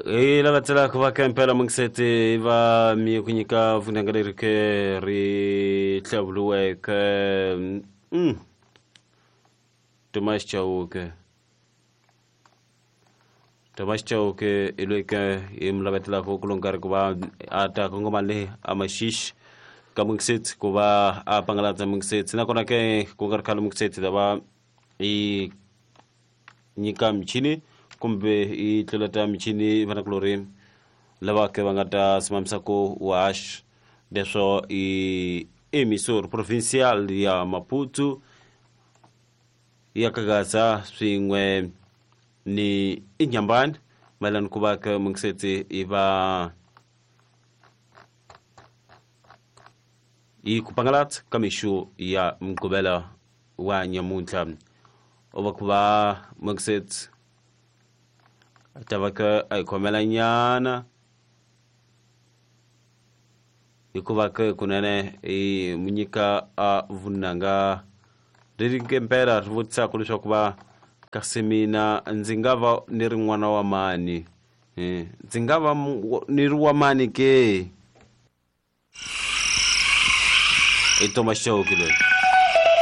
Hi lava tselaka va ka impela mungiseti va mi ku nyika vunanga leri ke ri hlawuriweke. Thomas Chauke, Thomas Chauke i loyi ke hi mi lavetelaka ku lo nkarhi ku va a ta kongoma le a Maxixi ka mungiseti ku va a pangalatsa mungiseti, nakona ke ku nga ri khale mungiseti ta va i nyika michini kumbe i tluleta michini vanakulorhi lava ke va nga ta simamisa ku wash leswo i emisor provincial ya Maputo ya Kagaza swin'we ni Inyambani mayelana ku va ke mungiseti i va yi ku pangalatsa ka mixo ya Mugqivela wa nyamuntlha u va ku va mungiseti a ta va ke a hi khomela nyana hikuva ke kunene i mu nyika a vunanga leri ngempela ri vutisaka leswaku va kasi mina ndzi nga va ni ri n'wana wa mani, ndzi nga va ni ri wa mani ke? I Thomas Chauke loyi.